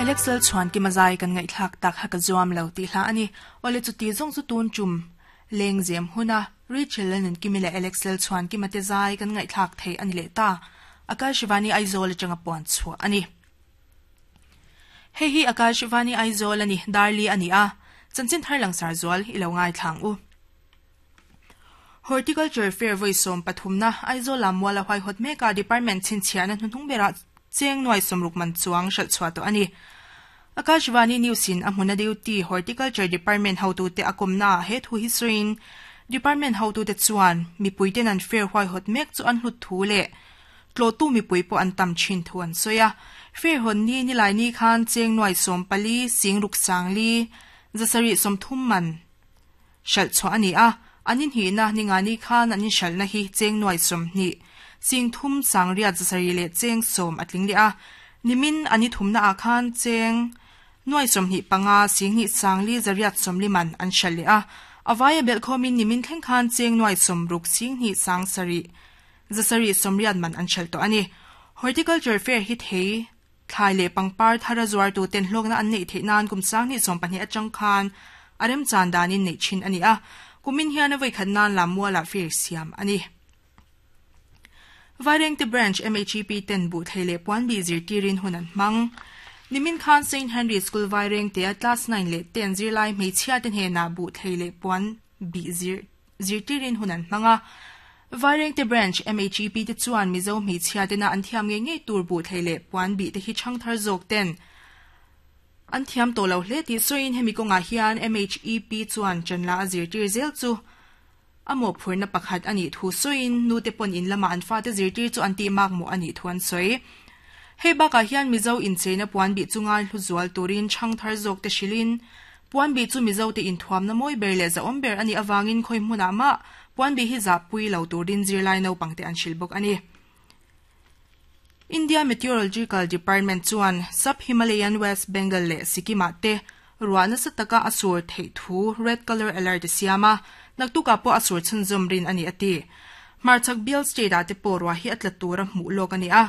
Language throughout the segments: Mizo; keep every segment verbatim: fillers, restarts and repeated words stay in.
Alex Lalchhuankima zai kan ngaihthlak tak kha ka zuam lo tih hla a ni. Awle chuti zawng chu tun tum lengzem huna Rachel Lal Nunkimi leh Alex Lalchhuankima te zai kan ngaihthlak thei a ni leh ta. Akashvani Aizawl atanga puan chhuah a ni. Hei hi Akashvani Aizawl a ni, Darli a ni a. Chanchin thar langsar zual i lo ngaithlang u. Horticulture Fair voi sawm pathumna Aizawl lam muala huaihawt meka department chhinchhiahna hnuhnung berah cheng nuai sawmruk man chuang hralh chhuah tawh a ni. Akashvani News in a hmuna duty Horticulture Department hotute a kawmna ah he thu hi sawiin Department hotute chuan mipuiten an fair huaihawt mek chu an hlut thu leh tlawhtu mipui pawh an tam thin thu an sawi a. Fair hawn ni nilai ni khan cheng nuai sawm pali sing ruk sang li zasarih sawmthum man hralh chhuah a ni a. An inhihna ninga ni khan an inhralhna hi cheng nuai sawmhnih sing thum sang riat zasarih leh cheng sawm a tling leh a. Nimin an i thumna ah khan cheng nuai sawmhnih panga sing hnih sang li zariat sawmli man an hralh leh a. A vaia belh khawmin nimin thleng khan cheng nuai sawmruk sing hnih sang sarih zasarih sawmriat man an hralh tawh a ni. Horticulture Fair hi thei thlai leh pangpar thar a zuartu ten hlawkna an neih theih nan kum sang hnih sawm pahnih atang khan a remchan danin neih thin a ni a. Kumin hian a voikhat nan lam mualah fair siam a ni. Vairengte Branch M H E P ten buh thei leh puan bi zirtirin hun an hmang. Nimin khan Saint Henry School Vairengte a class nine leh ten zirlai hmeichhia te hnenah buh thei leh puan bi zir zirtirin hun an hmang a. Vairengte Branch M H E P te chuan Mizo hmeichhia tena an thiam ngei ngei tur buh thei leh puan bi te hi chang thar zawk ten an thiam tawh lo hle tih sawiin hemi kawngah hian M H E P chuan chanla a zirtir zel chu a mawhphurhna pakhat a nih thu sawiin nu te pawn in lama an fate zirtir chu an tih mak mawh a nih thu an sawi. Hei bakah hian Mizo incheina puan bih chu ngai hlu zual turin chang thar zawk te hrilhin puan bih chu Mizo te inthuamna mawi ber leh zahawm ber a nih awangin khawi hmunah mah puan bih hi zahpui lo turin zirlai naupang te an hrilh bawk a ni. India Meteorological Department chuan Sub Himalayan West Bengal leh Sikkim-ah te ruah nasa taka a sur theih thu red color alert a siam a, naktukah pawh a sur chhunzawm rin a ni a ti. Hmarchhak bial state-ah te pawh ruah hi a tla tur a hmuh lawk a ni a.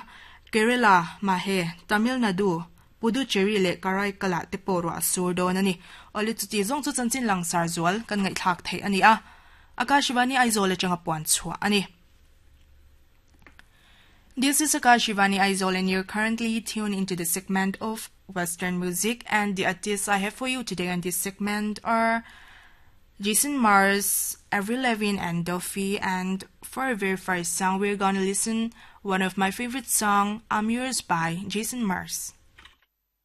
Kerala, Mahe, Tamil Nadu, Puducherry leh Karaikal-ah te pawh ruah a sur dawn a ni. Awle chuti zawng chu chanchin langsar zual kan ngaihthlak theih a ni a. Akashvani Aizawl atanga puan chhuah a ni. This is Akashvani Aizawl and you're currently tuned into the segment of Western music, and the artists I have for you today on this segment are Jason Mraz, Avril Lavigne and Duffy. And for our very first song, we're gonna listen one of my favorite song, I'm Yours by Jason Mraz.